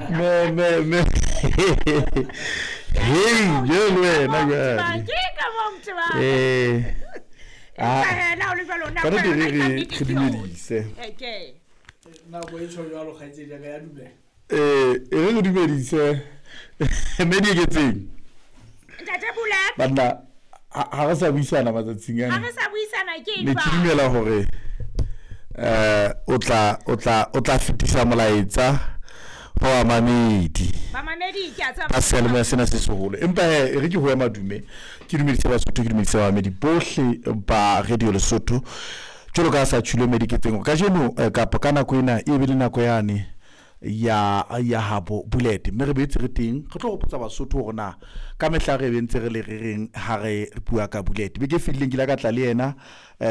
Me me me. Hey, jwale le wena jwale. Ke ka mo motebang. Eh. Empa Ah. hee, le ha ho le jwalo, Ka nako nnete yona re e ka re nnete re ke yona. dumedise. Okay. Nako e tjho jwalo, kgaitsedi ya ka ya dumela. Eh, e re re dumedise. Mme Dieketseng. Ntate Bullet. Banna ha re sa buisana matsatsing Ha ana. re sa buisana ke eng Ne ke jwale? dumela hore eh o tla fetisa molaetsa ho bamamedi. Bamamedi ke a tseba. Ka seyalemoya sena se seholo. Empa hee, e re ke ho ya madume, ke dumedise Basotho, ke dumedise bamamedi bohle ba Radio Lesotho. Jwalo ka ha sa tjhilo Mediketseng hore kajeno kapa ka nako ena e be le nako yane ya habo Bullet, mme re boetse re teng re tlo hopotsa Basotho hore na ka mehla re be ntse re le re reng ha re bua ka Bullet. Beke e fetileng ke ile ka tla le yena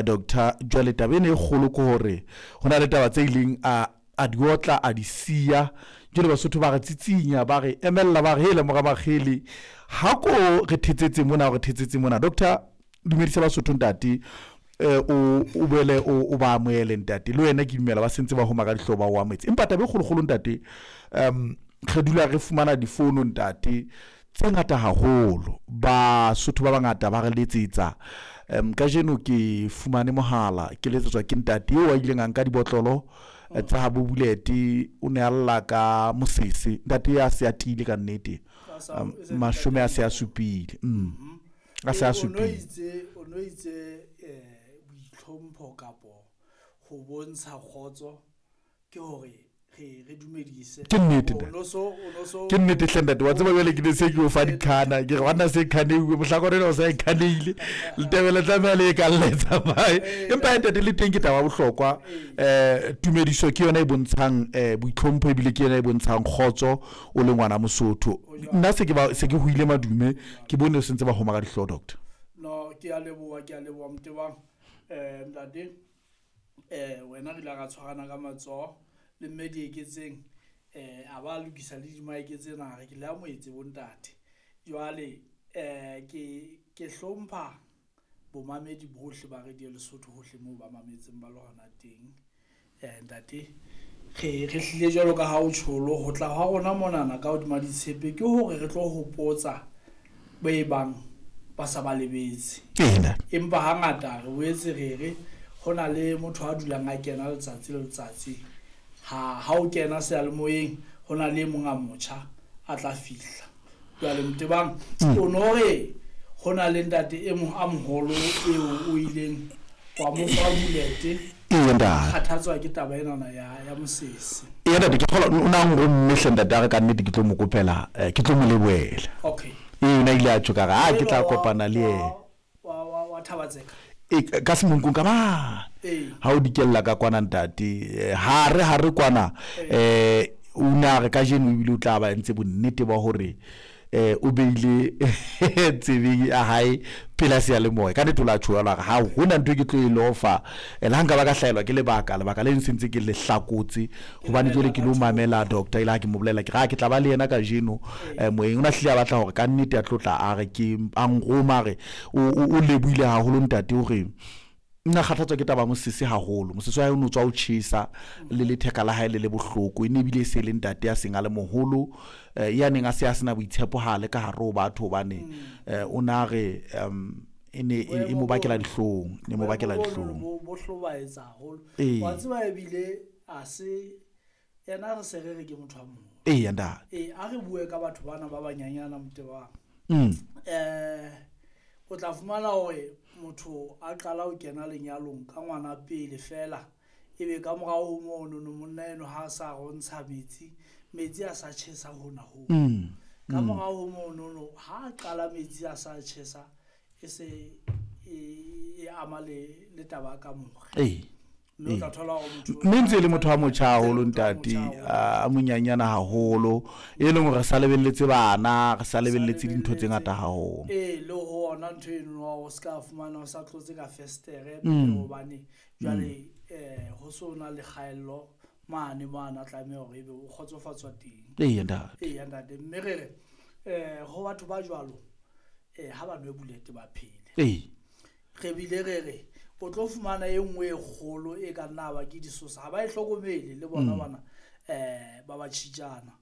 doctor. Jwale taba ena e kgolo ke hore ho na le taba tse ileng a di otla, a di siya. Jwale Basotho ba re tsitsinya, ba re emella, ba re hele mora makgele, ha ko re thetsetse mona, re thetsetse mona. Doctor, dumedisa Basotho ntate, o boele o ba amohele ntate. Le wena ke dumela ba sentse ba homa ka dihlooho, ba o amohetse. Empa taba e kgolokgolo ntate, re dula re fumana difono ntate tse ngata haholo, Basotho ba bangata ba re letsetsa. Kajeno ke fumane mohala, ke letsetswa ke ntate eo a ileng a nka dibotlolo tsa habo Bullet. O ne a lla ka mosese, ntate ya se a tiile ka nnete, 70 a se a supile, a se a supile. O no itse boitlhompho kapo ho bontsha kgotso ke hore re dumedise. Ke nnete, O ntate. no so o no so Ke nnete hle ntate. Wa tseba jwale ke ne se ke o fa dikhana, ke re banna se khaneuwe mohlakwane ena o sa e khaneile, letebele tlameha le e ka lletsa mae. Empa ntate, le teng ke taba ya bohlokwa. Tumediso ke yona e bontshang boitlhompho, ebile ke yona e bontshang kgotso o le ngwana Mosotho. Nna se ke ba se ke hoile madume, ke bone o sentse ba homa ka dihlooho, doctor. No, ke a leboha, ke a leboha Motebang. Ntate, wena re ile ra tshwarana ka matsoho le mme Dieketseng, a ba lokisa le dimaeke tsena, re ke le amohetse bontate. Jwale ke hlompha bomamedi bohle ba Radio Lesotho hohle moo ba mametseng ba le hona teng. Ntate, re hlile jwalo ka ha o tjholo ho tla hwa rona monana ka hodima ditshepe ke hore re tlo hopotsa ba e bang ba sa ba lebetse. Ee ntate. Empa hangata re boetse re re ho na le motho a dulang a kena letsatsi le letsatsi. Ha o kena seyalemoyeng ho na le e mong a motjha a tla fihla. Jwale Motebang, o no re ho na le ntate e mong a moholo eo o ileng wa mo fa Bullet. Ee ntate. Kgathatswa ke taba enana ya mosese. Ee ntate, ke kgolwa o na nromme hle ntate, a re ka nnete ke tlo mo kopela, ke tlo mo lebohela. Okay. Ee, o na ile a tjho ka re a ke tla Enwa kopana le yena. wa Thabatseka. E ka semonkong ka mane. Ha o dikella ka kwana ntate, hare kwana, o ne a re kajeno ebile o tla ba entse bonnete ba hore o beile tsebeng ya hae pela seyalemoya. Ka nnete o la tjho jwalo, a re ha hona ntho e ke tlo e lofa, le ha nka ba ka hlahelwa ke lebaka le sentse ke le hlakotse, hobane jwale ke lo mamela doctor. Ile ha ke mo bolella, ke re ha ke tla ba le yena kajeno moyeng. O na hlile a batla hore ka nnete a tlo tla a re ke a nroma, a re o lebohile haholo ntate hore nna kgathatswa ke taba mosese haholo. Mosese wa hae o no tswa o tjhesa le letheka la hae le le bohloko. E ne ebile e se le ntate ya seng a le moholo, ya neng a se a sena boitshepo ha le ka hare ho batho, hobane o na re e ne e mo bakela dihlong, ne mo bakela dihlong. Bo hlobaetsa haholo. Ee. Wa tseba ebile a se yena re se re re ke motho a moholo. Ee ntate. Ee, a re bue ka batho bana ba banyanyana Motebang. O tla fumana hore motho a qala ho kena lenyalong ka ngwana pele fela, ebe ka morao ho mono no monna eno ha a sa rontsha metsi, metsi a sa tjhesa hona ho. Ka morao ho mono no ha a qala metsi a sa tjhesa, e se e ama le taba ka more. Ee. Mme o tla thola hore motho Mme ntse e le motho a motjha haholo Ntse e le motho a ntate, motjha haholo. a monyanyana haholo, e leng hore re sa lebelletse bana, re sa lebelletse dintho tse ngata haholo. Ee, le ho ona ntho eno wa o ska fumana o sa tlotse ka festere, hobane jwale ho so na le kgaello mane mane a tlameha hore ebe o kgotsofatswa teng. Ee ntate. Ee ntate, mme re re ho batho ba jwalo ha ba nwe Bullet ba phele. Ee. Re bile re re o tlo fumana e nngwe e kgolo e ka nna ba ke disosa, ha ba e hlokomele le bona bana ba tjhitjana.